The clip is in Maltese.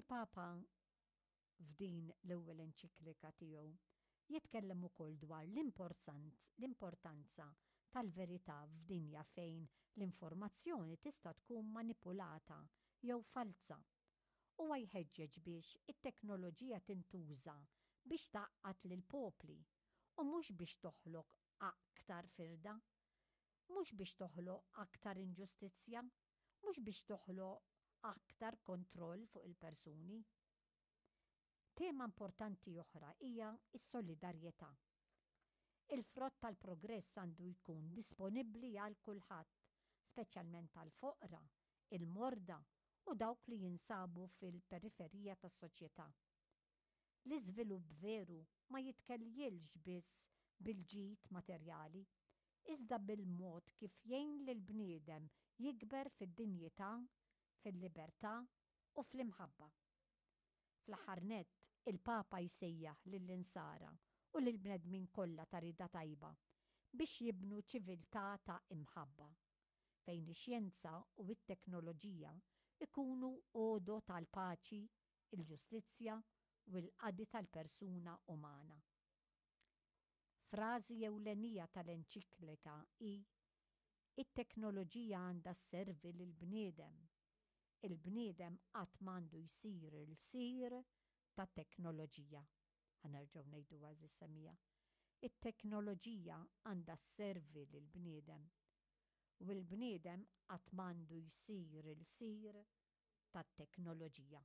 Il-Papa f'din l-ewwel enċiklika tiegħu jitkellem ukoll dwar l-importanza tal-verità f'dinja fejn l-informazzjoni tista' tkun manipulata jew falza. Huwa jħeġġeġ biex it-teknoloġija tintuża biex tgħaqqad lill-popli u mhux biex toħloq aktar firda, mhux biex toħloq aktar inġustizzja, mhux biex toħloq aktar kontroll fuq il-persuni. Tema importanti oħra hija s-solidarjetà. Il-frott tal-progress għandu jkun disponibbli għal kulħadd, speċjalment għall-foqra, il-morda u dawk li jinsabu fil-periferija tas-soċjetà. L-iżvilupp veru ma jitkejjilx biss bil-ġid materjali, iżda bil-mod kif jgħin lill-bniedem jikber fid-dinjità, fil-libertà u fl-imħabba. Fl-aħħar nett, il-Papa jsejjaħ lill-Insara u lill-bnedmin kollha ta' rieda tajba biex jibnu ċiviltà ta' imħabba, fejn ix-xjenza u t-teknoloġija jkunu għodod għall-paċi, il-ġustizzja u l-qadi tal-persuna umana. Frażi ewlenija tal-enċiklika hi, It-teknoloġija għandha sservi lill-bniedem. Il-bniedem qatt m'għandu jsir ilsir tat-teknoloġija. Ħa nerġgħu ngħiduha għeżież semmiegħa. It-teknoloġija għandha sservi lill-bniedem u l-bniedem qatt m'għandu jsir ilsir tat-teknoloġija.